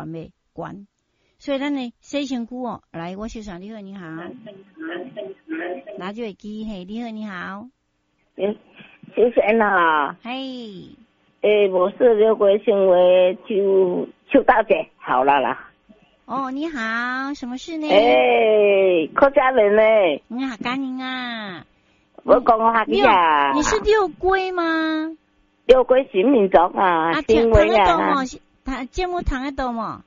懸袂懸？所以咱的洗身軀哦，來，我小上你好，你好，拿住耳機，嘿，你好，你好，謝謝啦，嘿，欸，我是劉國新為邱邱大姐，好了啦。哦，你好，什麼事呢？欸，客家人呢？你好，客家啊。我講我客家。你是六龜嗎？六龜新民族啊，新威啊。聽節目聽得到無？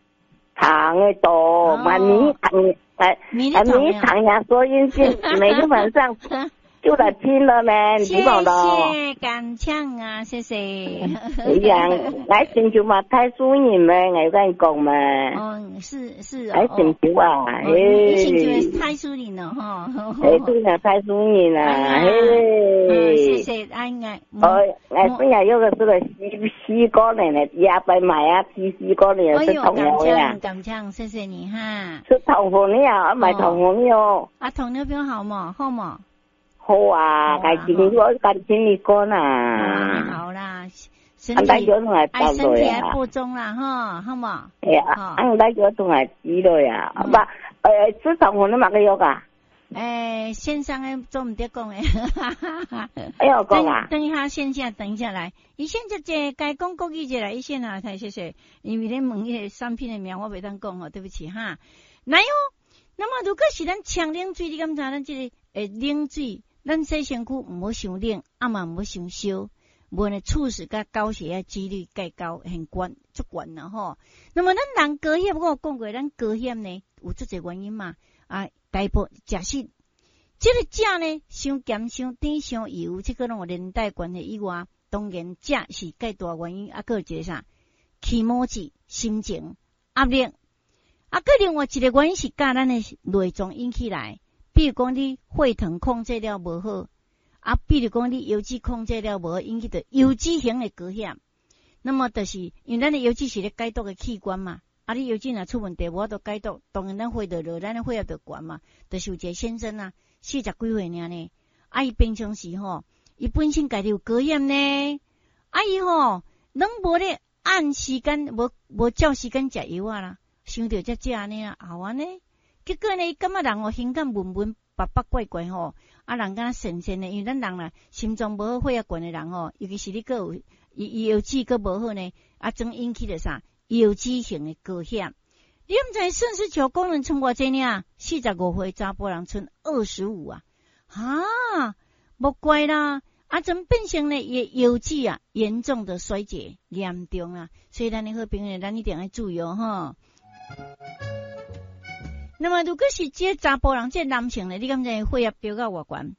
聽得到，嘛你聽，哎，啊你聽下收音機，每個晚上就來聽了呢，你知道謝謝，感謝啊，謝謝。哎呀，愛星球嘛，太輸人咩？我跟你講嘛。哦，是是哦。愛星球啊，嘿。星球太輸人了哈。哎，對啊，太輸人啦，嘿。謝謝，哎哎。哦，哎，本來有個是個西西瓜呢，也白買啊，吃西瓜呢，是糖尿呀。感謝，謝謝你哈。是糖分的啊，買糖分的哦。啊，糖尿病好嗎？好嗎？好啊，該聽我該聽你講啦。好啦，身體愛身體愛補充啦，哈，好無？哎呀，俺來叫同來知道呀，不，吃糖分的嘛個藥啊？欸，線上的做毋得講的。哎喲，講啊！等一下線下，等一下來。伊先這這該講國語者來，伊先啊，太謝謝，因為咧問彼個產品的名，我袂當講吼，對不起哈。來哦，那麼如果是咱搶冷水，你敢知咱這個冷水？咱洗身軀毋好傷冷，啊嘛毋好傷燒，無呢猝死佮高血壓幾率較高，很懸，足懸啦吼。那麼咱人高血壓，我有講過，咱高血壓呢有足濟原因嘛。啊，大部食食，這個食呢，傷鹹、傷甜、傷油，這個攏有連帶關係以外，當然食是較大原因。啊，閣有一個啥，気持ち、心情、壓力。啊，閣另外一個原因是佮咱的內臟引起來。比如講你血糖控制了無好，啊，比如講你油脂控制了無好，引起著油脂型的高血壓。那麼就是因為咱的油脂是咧解毒的器官嘛，啊，你油脂若出問題，無法度解毒，當然咱血就落，咱的血壓就懸嘛。就是有一個先生啊，四十幾歲爾呢，啊，伊平常時吼，伊本身家己有高血壓呢，啊，伊吼攏無咧按時間，無無照時間食藥仔啦，想著才食按呢啊，後按呢。結果呢，伊感覺人哦，胸間悶悶、白白怪怪吼，啊，人敢若神神的，因為咱人啦，心臟無好、血壓懸的人吼，尤其是你閣有伊伊腰子閣無好呢，啊，總引起著啥？腰子型的高血壓。你毋知腎絲球功能賰偌濟爾？45歲查埔人賰25啊！哈，莫怪啦，啊，怎變成呢？伊的腰子啊，嚴重的衰竭，嚴重啊！所以咱的好朋友，咱一定愛注意哦，吼。那麼如果是這個查埔人，這個男性呢，你敢知血壓飆到偌懸？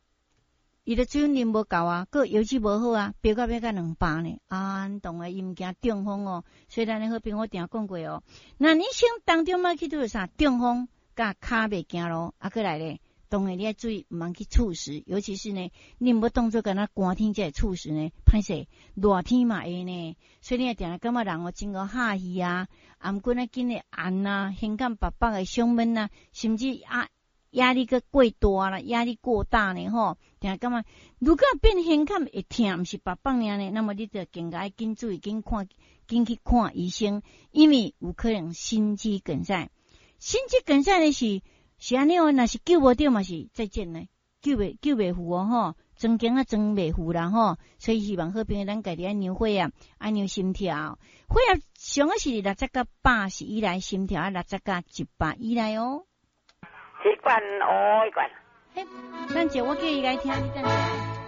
伊的水分啉無夠啊，閣腰子無好啊，飆到欲到200呢。啊，你懂啊？伊毋驚中風哦。所以咱的好朋友我定講過哦。那你生當中嘛去拄著啥？中風佮跤袂行路，啊，閣來咧，當然你愛注意，毋通去猝死，尤其是呢，你毋好當做敢若寒天才會猝死呢，歹勢，熱天嘛會呢。所以你會定定感覺人哦真夠哈氣啊，啊，毋過呢緊會按啊，胸間白白的胸悶啊，甚至啊壓力閣過大啦，壓力過大呢吼，定感覺如果變胸坎會疼，毋是白白爾呢，那麼你就更加愛緊注意，緊看，緊去看醫生，因為有可能心肌梗塞。心肌梗塞呢是是按呢哦，若是救無著嘛是再見呢，救袂赴哦吼，裝驚啊裝袂赴啦吼，所以希望好朋友咱家己愛量血壓，愛量心跳，血壓上好是60到80以內，心跳60到100以內哦。一罐哦，一罐。嘿，等下我叫伊來聽，你等下，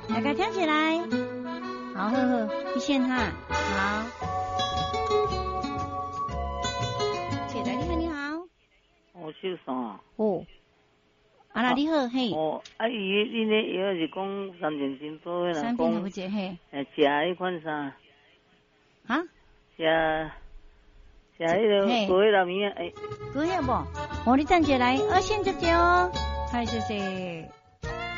大家聽起來。好好好，你先哈，好。起來，你好，你好。我姓宋。哦。啊啦，你好，嘿。哦，啊，伊恁咧藥是講三件珍寶的，三品有一嘿。欸，食彼款啥？哈？食食彼个高血壓物仔，欸。高血壓無？哦，你等一下來，二線接接哦。嗨，謝謝。